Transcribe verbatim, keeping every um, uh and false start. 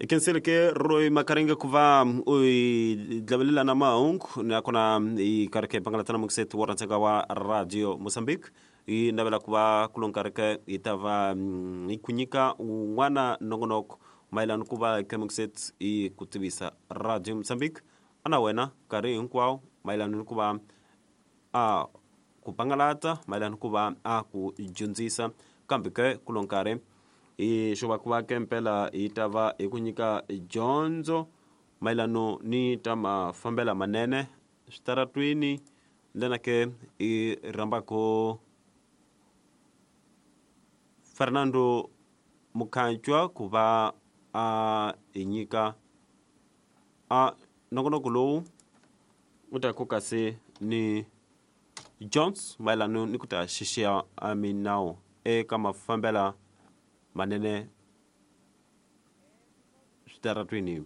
Hi khensile ke Roy Makaringa ku va u hi dlavelela na mahungu, nakona hi karhi ke pangalatana mukiseti wa rhandzeka wa Radio Mozambique. Hi navela ku va ku lo nkarhi ke hi ta va mm, hi ku nyika wun'wana nongonoko mayelana ku va ke mukiseti hi ku tivisa Radio Mozambique ana wena nkarhi hinkwawo mayelana ni ku va a ku pangalata, mayelana ku va a ku dyondzisa. Kambe ke ku lo nkarhi hi xo va ku va ke mpela hi ta va hi ku nyika dyondzo mayelano ni ta mafambela manene switaratwini, ndlela ke hi rhambako Fernando Mukhanchwa ku va a hi nyika a nongonoko lowu u ta ku kasi ni Jones mayelano ni ku ta xixiya a minawu eka mafambela manene switaratwini.